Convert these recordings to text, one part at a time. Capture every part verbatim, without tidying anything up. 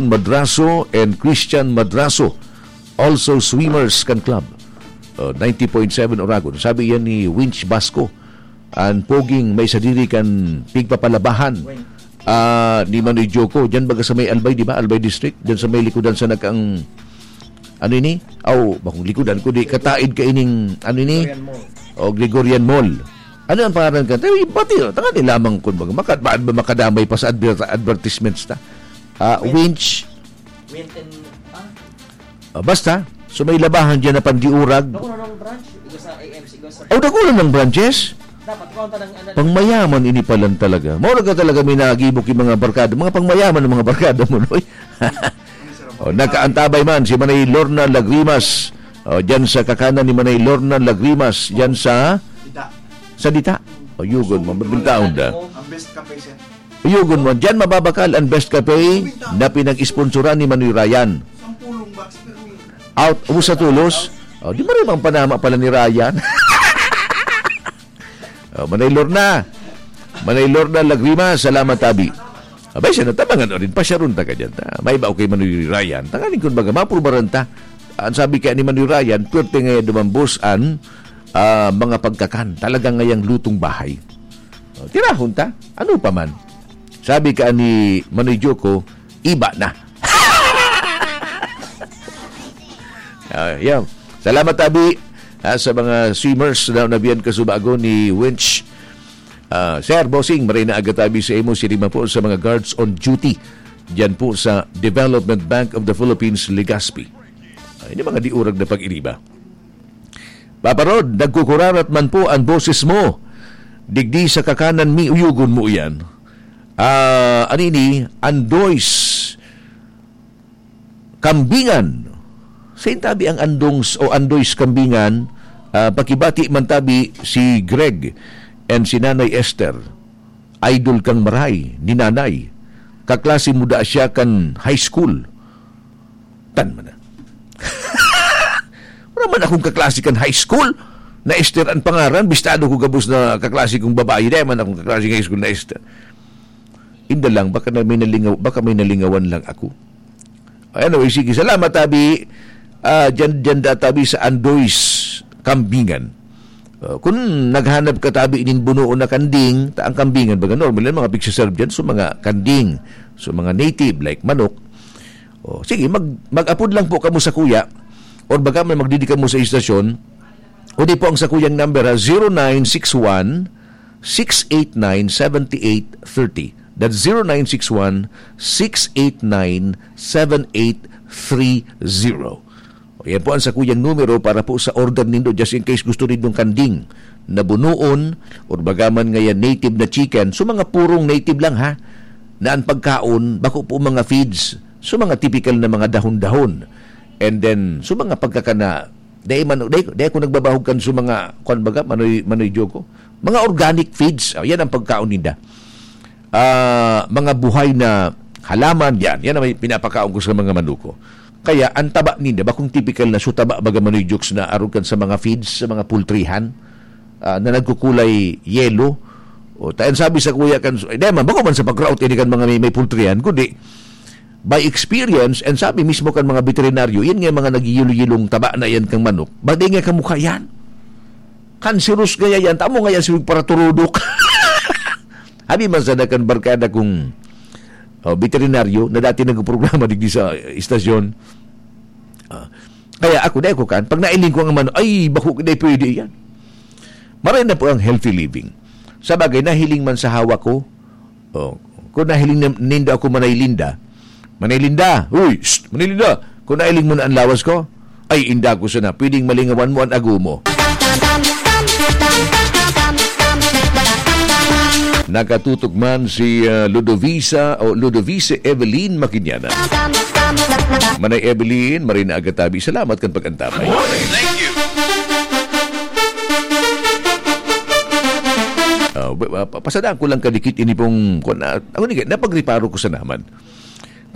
Madraso and Christian Madraso, also swimmers kan club. Uh, ninety point seven Oragon. Sabi yan ni Winch Basco, ang poging may sadiri kan pigpapalabahan, ah, ni Manoy Joko. Diyan baga sa may Albay, di ba? Albay District. Diyan sa may likodan sa nagkaang, ano ini? Aw, bakong likodan ko, di kataid ka ining, ano ini? Gregorian Mall. O, Gregorian Mall. Ano ang pangalan ka? Tayo, pati, tanga ni lamang kun baga, maka-, ba, ba makadamay pa sa adver-, advertisements ta? Ah, Win- Winch. Win and, ah? Ah, basta, so may labahan dyan na pandiurag. Naku, nang branch? Igo sa A M C, igo sa Oh, dako lang ng branches. Dapat, kung tanang, ano, Pangmayaman ini palan talaga. Mao na ka talaga may nagibok yung mga barkada. Mga pangmayaman ng mga barkada mo, Noy. Oh, nakaantabay man si Manay Lorna Lagrimas. Oh, dyan sa kakanan ni Manay Lorna Lagrimas. Dyan sa Dita. Sa Dita. O, yugon mo. Mabintaon da. Ang best kape, sir. Yugon mo. Dyan mababakal ang best kape na pinag-sponsoran ni Manoy Ryan. Sampulong box per week. Out. Ubus sa tulos. Oh, di ba rin ang panama pala ni Ryan? Oh, Manay Lorna. Manay Lorna Lagrimas, salamat, tabi. Abay, siya natabangan o rin, pasyaron ta ka dyan, ta. May ba okay Manoy Ryan? Tanganing kun baga, maprubaran ta. Ang sabi kaya ni Manoy Ryan, pwerte nga dumambos an, ah, mga pagkakan. Talagang ngayang lutong bahay. O, tirahon ta. Ano pa man? Sabi ka ni Manoy Joko, iba na. Ah, yeah. Salamat, tabi, ah, sa mga swimmers na nabiyan kasubago ni Winch. Ah, Sir Bossing, maray na aga tabi sa imo, sirima po sa mga guards on duty diyan po sa Development Bank of the Philippines, Legazpi. Ah, ini mga diurag na pag-iriba. Papa Rod, nagkukurarat man po ang boses mo. Digdi sa kakanan mi, uyugon mo iyan. Ah, anini, Andoy's Kambingan. Sa intabi ang Andongs o Andoy's Kambingan, ah, pakibati man tabi si Greg and si Nanay Esther. Idol kang maray ni Nanay. Kaklase mo da siya kan high school. Tan man na. Wala man akong kaklase kan high school na Esther ang pangaran. Bistado ko gabos na kaklase kong babae. Dahil man akong kaklase ng high school na Esther. Inda lang, baka na may nalingaw-, baka may nalingawan lang ako. Anyway, sige. Salamat, tabi. Ah, dyan, dyan da, tabi, sa Andoy's Kambingan. Ah, kung naghanap ka, tabi, inin bunoon na kanding, ta ang kambingan, baga normal yan, mga pigsaserve dyan, so mga kanding, so mga native, like manok. O, sige, mag-, mag-apod lang po kamo sa kuya, or baga man magdidi kamo sa istasyon, o di po ang sa kuyang number, ha, zero nine six one, six eight nine, seven eight three zero. That's zero nine six one, six eight nine, seven eight three zero. O, yan po ang sakuyang numero para po sa order nindo, just in case gusto nindong kanding na bunoon, or baga man ngayon native na chicken. So, mga purong native lang, ha, na ang pagkaon, bako po mga feeds. So, mga typical na mga dahon-dahon. And then, so, mga pagkakana, dahil man, dahil, dahil ako nagbabahog kan sa mga, kwan baga, manoy, manoy joko. Mga organic feeds, oh, yan ang pagkaon ninda. Ah, mga buhay na halaman, yan. Yan ang may pinapakaon ko sa mga manuko. Kaya, ang taba ninda, bakong typical na so taba, baga, manoy jokes na arog kan sa mga feeds, sa mga poultryhan, ah, na nagkukulay yellow. O, tayan sabi sa kuya kan, eh, di man, bako man sa pag-route, ini kan mga may, may poultryhan, kundi, by experience, and sabi mismo kan mga veterinaryo, yan nga mga nagyiyilo-yilong taba na yan kang manok, bagay nga kamukha yan. Cancerous kaya yan, tamo nga yan si para turudok. Habi man sana kan barkada kong, oh, veterinaryo na dati nagprograma digdi sa istasyon. Ah, kaya ako, dai ko kan, pag nailing ko ang manok, ay, bako, dai pwede yan. Maray na po ang healthy living. Sa bagay, nahiling man sa hawak ko, oh, kung nahiling na, ninda ako, Manay Linda, Manay Linda, uy, shh, Manay Linda, kung nahiling mo na ang lawas ko, ay, inda ko sana, pwedeng malingawan mo ang ago mo. Nakatutok man si, ah, Ludovisa o Ludovice Evelyn Makinyana. Manay Evelyn, maray na aga tabi. Salamat kan pag-antabay. Thank you. Ah, ba-, ba-, pa-, pasadaan ko lang kadikit ini pong, kung na, ako ni, napagreparo ko sa naman.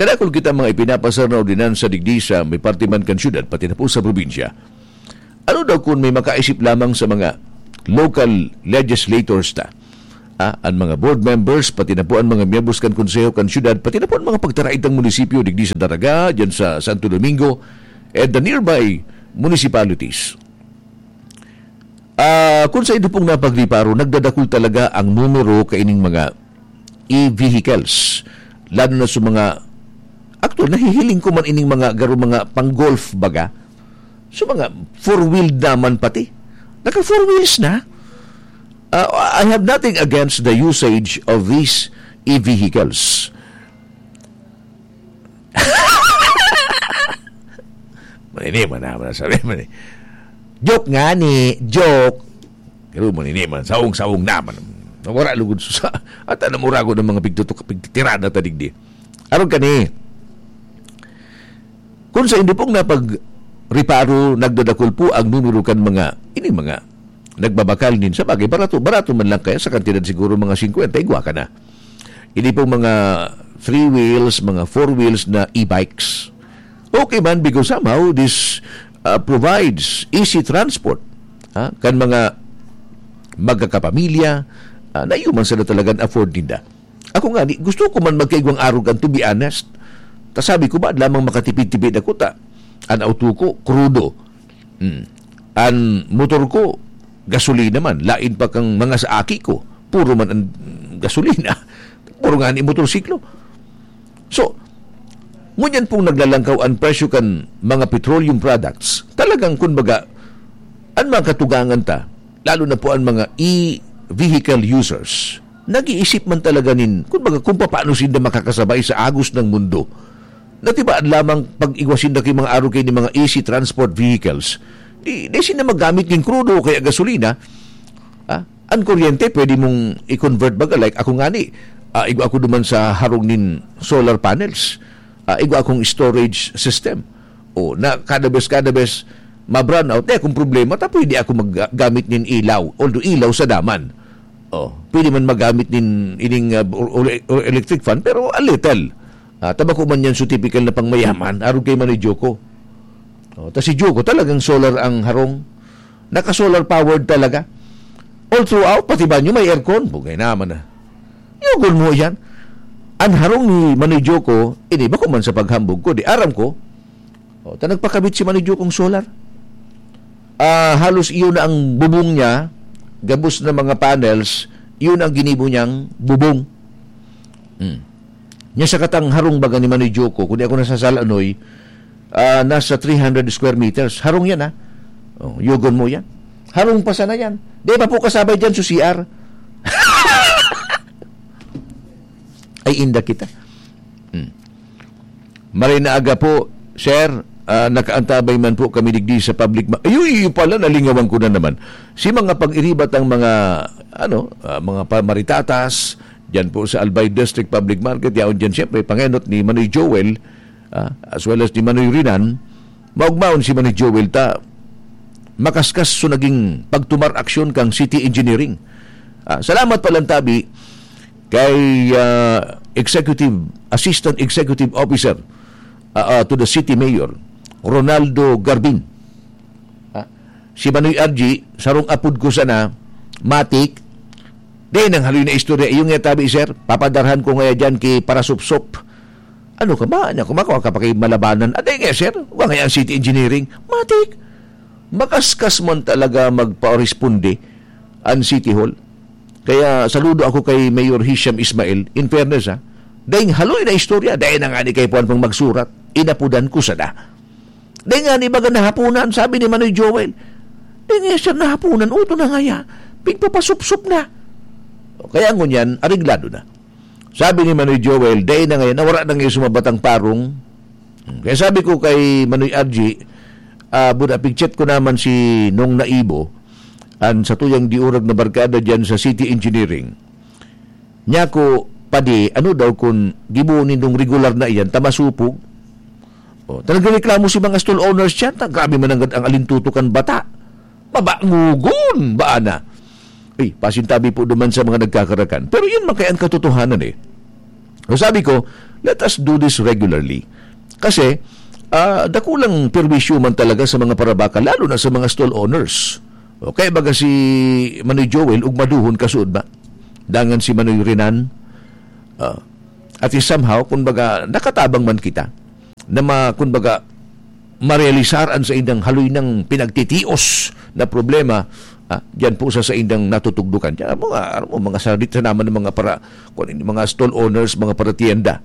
Kadakol kita mga ipinapasar na ordinansa digdi sa may parte man kan syudad, pati na po sa probinsya. Ano daw kung may makaisip lamang sa mga local legislators ta? Ah, an mga board members, pati na po an mga miyembros kan konseho kan syudad, pati na po an mga pagtaraitang munisipyo digdi sa Daraga, diyan sa Santo Domingo, and the nearby municipalities. Ah, kun sa indo pong napagriparo, nagdadakul talaga ang numero kaining mga e-vehicles, lalo na sa mga, actually, nahihiling ko man ining mga garo, mga pang-golf baga. So, mga four-wheeled naman pati. Naka-four wheels na. Ah, I have nothing against the usage of these e-vehicles. Manini man naman, sabi man eh. Joke nga ni, joke. Pero manini man, saong-saong naman. Wala lugod sa, at alam mo rago ng mga pigtutok, pigtitirada ta digdi. Aron kani, kun sa indo pong napagriparo, nagdadakul po ang numero kan mga, ini mga nagbabakal nin, sa bagay, barato, barato man lang kaya sa kantidad siguro mga fifty, igwa ka na. Ini pong mga three wheels, mga four wheels na e-bikes. Okay man, because somehow this, uh, provides easy transport, ha, kan mga magkakapamilya, ah, na iyo man sana talagang afford ninda. Ako nga, di, gusto ko man magkaigwang arog kan, to be honest. Ta sabi ko, ba lamang makatipid-tipid ako ta. An auto ko, krudo. Hmm. An motor ko, gasolina man. Lain pa kang mga sa aki ko. Puro man ang gasolina. Puro nga ni motorsiklo. So, ngunyan pong naglalangkaw an presyo kan mga petroleum products. Talagang, kumbaga, an mga katugangan ta, lalo na po an mga e-vehicle users, nag-iisip man talaga nin, kumbaga, kung paano sinda makakasabay sa agos ng mundo. Na tiba lamang pag-igwa sinda kay mga aro kay ni mga easy transport vehicles, di, di sinda magamit nin krudo o kaya gasolina. Ah, an kuryente, pwede mong i-convert baga. Like, ako ngani, ah, igwa ako duman sa harong nin solar panels. Ah, igwa akong storage system. O, na kada bes, kada bes, ma-brownout, eh, kung problema, ta pwede ako maggamit nin ilaw. Although ilaw sa daman. O, pwede man magamit nin ining, ah, or, or, or electric fan, pero a little. Ah, ta bako man yan so typical na pangmayaman, arog kay Manoy Joko. O, ta si Joko talagang solar ang harong. Naka-solar powered talaga. All throughout, pati banyo may aircon. Bugay naman na. Yugon mo yan. An harong ni Manoy Joko, ini bako man sa paghambog ko, di aram ko. O, ta nagpakabit si Manoy Jokong solar. Ah, halos iyon na ang bubong niya, gabos na mga panels, iyon ang ginibo niyang bubong. Hmm. Nya sa katang harong baga ni Manoy Joko, kung di ako nasasala, Noy, ah, nasa three hundred square meters. Harong yan, ha? O, yugon mo yan. Harong pa sana yan. Di pa po kasabay dyan sa C R. Ay, inda kita. Hmm. Maray na aga po, sir. Ah, nakaantabay man po kami digdi sa public ma-, ayun, iyo pala, nalingawan ko na naman. Si mga pag-iribat ang mga, ano, ah, mga pa-, maritatas, diyan po sa Albay District Public Market, yaon diyan siyempre, pangenot ni Manoy Joel, ah, as well as ni Manoy Rinan, maugmaon si Manoy Joel ta, makaskas so naging pagtumar aksyon kang City Engineering. Ah, salamat pa lang tabi kay, ah, Executive, Assistant Executive Officer, ah, ah, to the City Mayor, Ronaldo Garbin. Ah, si Manoy R G, sarong apod ko sana, Matik, di nang haloy na istorya. Iyo nga tabi, sir, papadarhan ko ngaya dyan ki Parasupsup. Ano ka ba? Ano ka ba? Kung ka pa kay malabanan. Aday nga, sir, wa nga ang City Engineering. Matik, makaskas man talaga magpa-responde an City Hall. Kaya saludo ako kay Mayor Hisham Ismail. In fairness, ha, dahil haloy na istorya, dahil na nga ni kay Puan pang magsurat, inapudan ko sana. Dahil nga ni baga nahapunan, sabi ni Manoy Joel. Dahil nga siya nahapunan, uto na nga ya. Pigpapasupsup na. O, kaya ngunyan, areglado na. Sabi ni Manoy Joel, dahil na ngayon, nawara na ngayon sumabatang parong. Kaya sabi ko kay Manoy R G, ah, buda, pigchat ko naman si Nong Naibo, an satuyang diurag na barkada dyan sa City Engineering. Niya ko, padi, ano daw kun gibo nindong regular na iyan, ta masupog? O, ta nagreklamo si mga stall owners dyan, ta grabe man ang, ang alintuto kan bata. Mabangugon, ba na? Ay, pasintabi po duman sa mga nagkakarakan. Pero yun man kaya ang katotohanan eh. So sabi ko, let us do this regularly. Kasi, ah, dakulang perwisyo man talaga sa mga parabaka, lalo na sa mga stall owners. O, kaya baga si Manoy Joel, ugmaduhon kasuod ba? dangan si Manoy Renan. Ah, at is somehow, kumbaga, nakatabang man kita na ma-, kumbaga, marealisar an saindang haloy nang pinagtitios na problema, ah, diyan po sa saindang natutugdukan. Diyan, mga, ano mo, mga saradit na naman ng mga para, kung ano, mga stall owners, mga paratienda.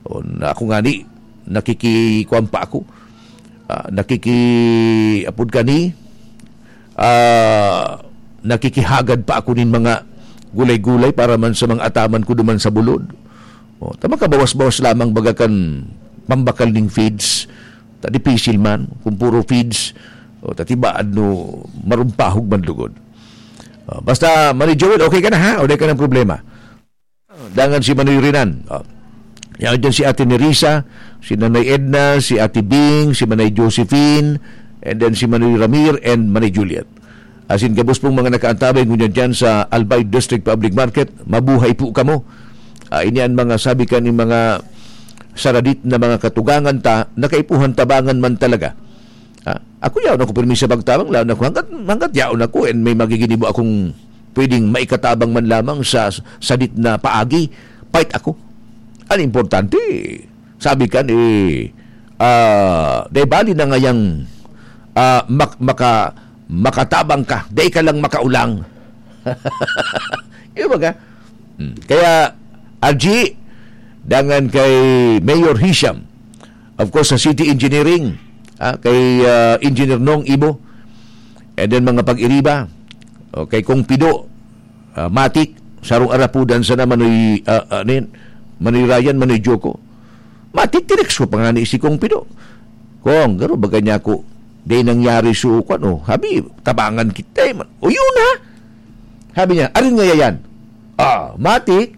O, na ako ngani, nakikikuwan pa ako. Ah, nakiki-, apod kani, ah, nakikihagad pa ako nin mga gulay-gulay para man sa mga ataman ko duman sa bulod. O, ta makabawas-bawas lamang baga kan pambakal ning feeds. Ta dipisil man, kung puro feeds, o, ta tibaad no marumpahog man lugod. O, basta, Manoy Joel, okay ka na, ha? O, di ka ng problema. Dangan si Manoy Renan. O. Yan dyan si Ate Nerissa, si Nanay Edna, si Ate Bing, si Manay Josephine, and then si Manoy Ramir and Manay Juliet. Asin gabos pong mga nakaantabay ngunyan dyan sa Albay District Public Market, mabuhay po kamo. Ah, ini an mga sabi kan mga saradit na mga katugangan ta, na kaipuhan tabangan man talaga. Ah, ako yaon ako pirmi sa pagtabang, laon ako hanggat, hanggat yaon ako and may magiginibo akong pwedeng maikatabang man lamang sa sadit na paagi, fight ako. Ang importante, sabi kan, eh, ah, dai bali na ngayang, ah, mak-, maka-, makatabang ka, dai ka lang makaulang. Yung baga? Hmm. Kaya, R G, dangan kay Mayor Hisham, of course, sa City Engineering, ah, kay, ah, Engineer Nong Ibo, and then mga pag-iriba, o kay Kong Pido, ah, Matik, sarong arapudan sana Manoy, ah, ah, ano yun? Manoy Ryan, Manoy Joko. Matik, tinext ko pa nga ni si Kong Pido. "Kong, garo ba kanya ko? Di nangyari so, kwan, oh. Habi, tabangan kita, eh, man." "O, yun, ha?" Habi niya, "Arin nga yan?" Ah, matik,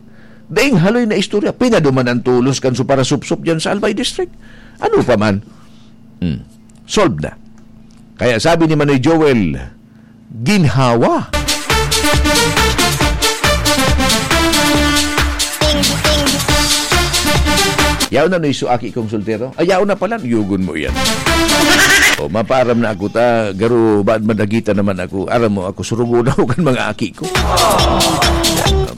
daing haloy na istorya. Pinaduman ang tulos kan so parasupsop dyan sa Albay District. Ano pa man? Hmm. Solved na. Kaya sabi ni Manoy Joel, "Ginhawa." Yaon na no iso aki kong soltero? Ay, yaon na pala, yugon mo yan. O, mapaaram na ako ta, garo, baad madagita naman ako. Aram mo, ako, surugo na ako kan mga aki ko.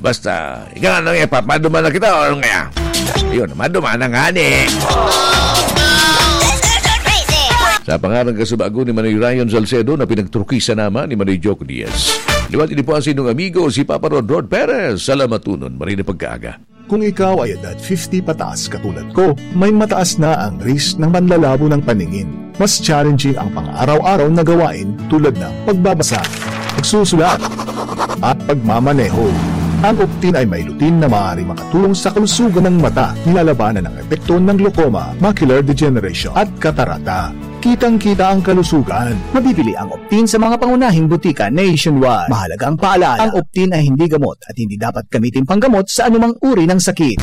Basta, ika nga nang ipapaduman na kita, o ano kaya? Yun, maduman na nga ni. Sa pangaran kasubago ni Manoy Ryan Salcedo na pinagtrukisan naman ni Manoy Joke Diaz. Liwat ini po ang sinong amigo, si Papa Rod Rod Perez. Salamatunon, maray na pagkaaga. Kung ikaw ay edad fifty pataas katulad ko, may mataas na ang risk ng panlalabo ng paningin. Mas challenging ang pang-araw-araw na gawain tulad ng pagbabasa, pagsusulat, at pagmamaneho. Ang Optin ay may lutein na maaari makatulong sa kalusugan ng mata, nilalabanan ang epekto ng glaucoma, macular degeneration, at katarata. Kitang-kita ang kalusugan. Mabibili ang Optin sa mga pangunahing butika nationwide. Mahalagang paalala, ang Optin ay hindi gamot at hindi dapat gamitin panggamot sa anumang uri ng sakit.